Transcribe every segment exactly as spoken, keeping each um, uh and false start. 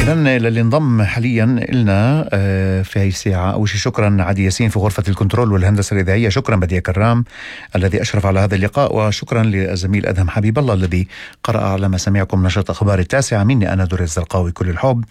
إذن للي انضم حاليا لنا في هاي الساعة، أول شيء شكرا عدي ياسين في غرفة الكنترول والهندسة الإذاعية، شكرا بديع كرام الذي أشرف على هذا اللقاء، وشكرا للزميل أدهم حبيب الله الذي قرأ على مسامعكم نشرة أخبار التاسعة. مني أنا دوري الزرقاوي كل الحب.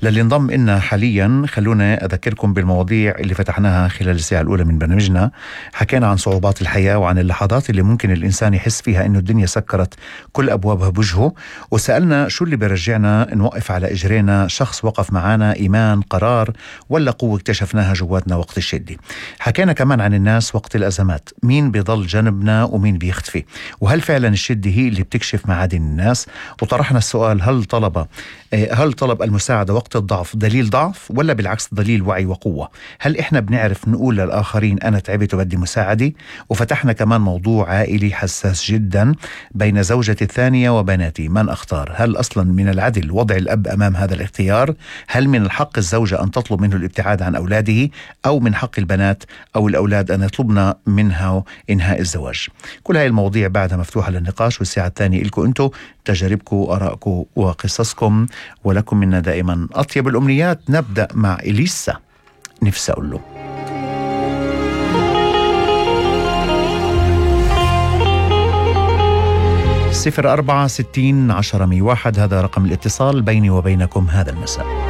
للي انضم لنا حاليا خلونا أذكركم بالمواضيع اللي فتحناها خلال الساعة الأولى من برنامجنا. حكينا عن صعوبات الحياة وعن اللحظات اللي ممكن الإنسان يحس فيها إنه الدنيا سكرت كل أبوابها بوجهه، وسألنا شو اللي بيرجعنا نوقف على إجرينا، شخص وقف معنا، إيمان، قرار، ولا قوة اكتشفناها جواتنا وقت الشدة. حكينا كمان عن الناس وقت الأزمات، مين بيضل جنبنا ومين بيختفي، وهل فعلا الشدة هي اللي بتكشف معادن الناس. وطرحنا السؤال، هل طلب هل طلب المساعدة وقت الضعف دليل ضعف ولا بالعكس دليل وعي وقوة؟ هل إحنا بنعرف نقول للآخرين أنا تعبت وبدي مساعدة؟ وفتحنا كمان موضوع عائلي حساس جدا بين زوجتي الثانية وبناتي، من أختار؟ هل أصلا من العدل وضع الأب أمام هذا الاختيار؟ هل من الحق الزوجة أن تطلب منه الابتعاد عن أولاده، أو من حق البنات أو الأولاد أن يطلبنا منها إنهاء الزواج؟ كل هاي المواضيع بعدها مفتوحة للنقاش، والساعة الثانية إلكم أنتو، تجاربكم وآرائكم وقصصكم، ولكم منا دائما أطيب الأمنيات. نبدأ مع إليسا، نفسي أقول له صفر أربعة ستين عشرة مية واحد، هذا رقم الاتصال بيني وبينكم هذا المساء.